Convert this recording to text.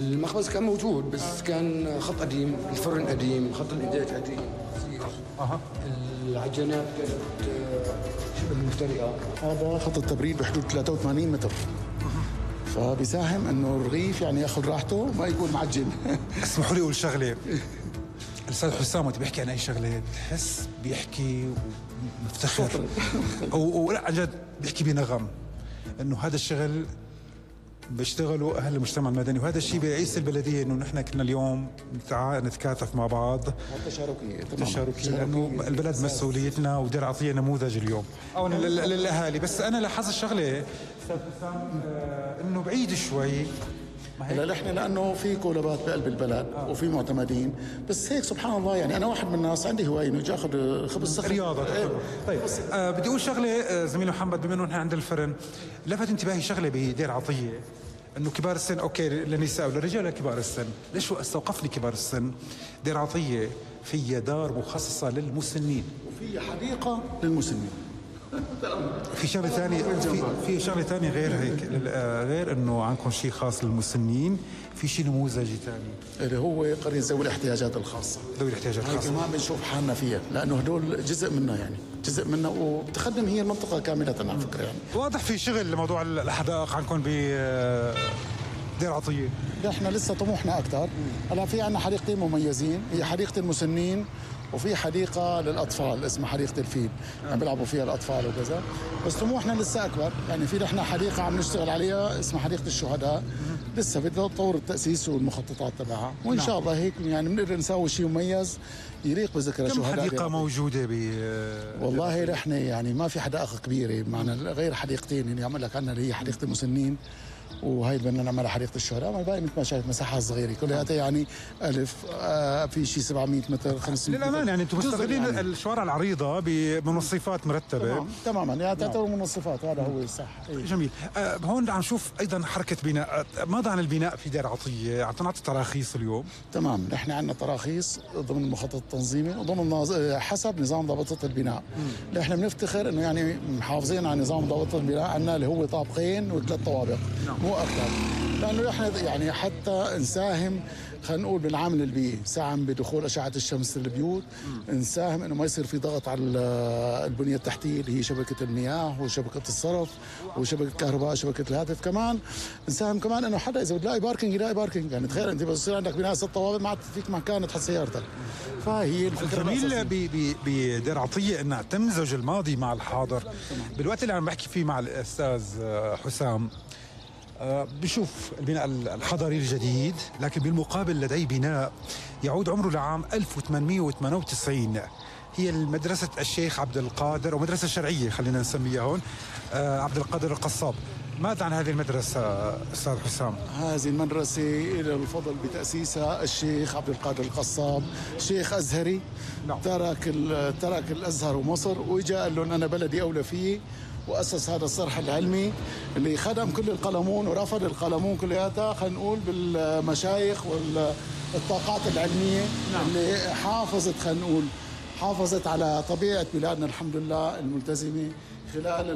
المخبز كان موجود بس كان خط قديم، الفرن قديم، خط الإنتاج قديم كثير. العجينات كانت شبه مفترقة. هذا خط التبريد بحدود 83 متر. فبيساهم انه الرغيف يعني ياخذ راحته ما يكون معجن. اسمحوا لي اقول شغله. الاستاذ حسام وقت بيحكي عن اي شغله بتحس بيحكي ومفتخر ولا عن جد بيحكي بنغم انه هذا الشغل بيشتغلوا اهل المجتمع المدني، وهذا الشيء برئيس البلديه انه نحن كنا اليوم نتكاتف مع بعض تشاركيه لانه البلد مسؤوليتنا، ودير عطيه نموذج اليوم او للاهالي. بس انا لاحظت شغله استاذ حسام انه بعيد شوي. هلا نحن لانه في كولابات بقلب البلد وفي معتمدين، بس هيك سبحان الله يعني انا واحد من الناس عندي هوايه انه اجي اخذ خبز صخر رياضه. طيب بدي اقول شغله زميل محمد، بما انه نحن عند الفرن لفت انتباهي شغله بدير عطيه انه كبار السن اوكي للنساء وللرجال لكبار السن. ليش استوقفني كبار السن؟ دير عطيه فيها دار مخصصه للمسنين وفي حديقه للمسنين. في شغله ثانيه، في شغله ثانيه غير هيك، غير انه عندكم شيء خاص للمسنين، في شيء نموذجي ثاني اللي هو قرية ذوي الاحتياجات الخاصه. ذوي الاحتياجات الخاصه كمان بنشوف حالنا فيها لانه هدول جزء منا، يعني جزء منا، وبتخدم هي المنطقه كامله على فكره. يعني واضح في شغل لموضوع الحدائق عندكم دير عطيه. نحن لسه طموحنا اكثر. هلا في عندنا حديقتين مميزين، هي حديقه المسنين وفي حديقه للاطفال اسمها حديقه الفيل، يعني بيلعبوا فيها الاطفال وكذا. بس طموحنا لسه اكبر، يعني في نحن حديقه عم نشتغل عليها اسمها حديقه الشهداء، لسه بدنا نطور التاسيس والمخططات تبعها، وان شاء الله هيك يعني بنقدر نسوي شيء مميز يليق بذكرى الشهداء. كم حديقه موجوده والله نحن يعني ما في حدائق كبيره معنا غير حديقتين اللي عم لك عنها، اللي هي حديقه المسنين وهي بدنا نعملها حديقه الشهداء. ما الباقي مثل ما شايف مساحه صغيره كلها يعني الف في شيء 700 متر 500 متر. للامانه يعني انتم مستغلين يعني الشوارع العريضه بمنصفات مرتبه. تماما يعني تعتبر منصفات، هذا هو الصح. جميل. هون عم نشوف ايضا حركه بناء. ماذا عن البناء في دير عطيه؟ عم تنعطي تراخيص اليوم؟ تمام، نحن عندنا تراخيص ضمن المخطط التنظيمي وضمن حسب نظام ضابطه البناء. نحن بنفتخر انه يعني محافظين على نظام ضابطه البناء، عندنا اللي هو طابقين وثلاث طوابق مو اكثر، لانه نحن يعني حتى نساهم خلينا نقول بالعامل البيئي، نساهم بدخول اشعه الشمس للبيوت، نساهم انه ما يصير في ضغط على البنيه التحتيه اللي هي شبكه المياه وشبكه الصرف وشبكه الكهرباء شبكه الهاتف. كمان نساهم كمان انه حدا اذا بده يلاقي باركينج، يعني تخيل انت بس يصير عندك بناء 6 طوابق ما عاد فيك مكان تحط سيارتك. فهي الفكره الجميل بدير عطيه انها تمزج الماضي مع الحاضر. بالوقت اللي عم بحكي فيه مع الاستاذ حسام بشوف البناء الحضري الجديد، لكن بالمقابل لدي بناء يعود عمره لعام 1898، هي مدرسة الشيخ عبد القادر، أو مدرسة شرعية خلينا نسميها هون، عبد القادر القصاب. ماذا عن هذه المدرسة أستاذ حسام؟ هذه المدرسة إلى الفضل بتأسيسها الشيخ عبد القادر القصاب، شيخ أزهري. ترك الأزهر ومصر وإجا قال لهم أنا بلدي أولى فيه، وأسس هذا الصرح العلمي اللي خدم كل القلمون ورفض القلمون كلياتها، خلينا نقول بالمشايخ والطاقات العلمية اللي حافظت على طبيعة بلادنا الحمد لله الملتزمة خلال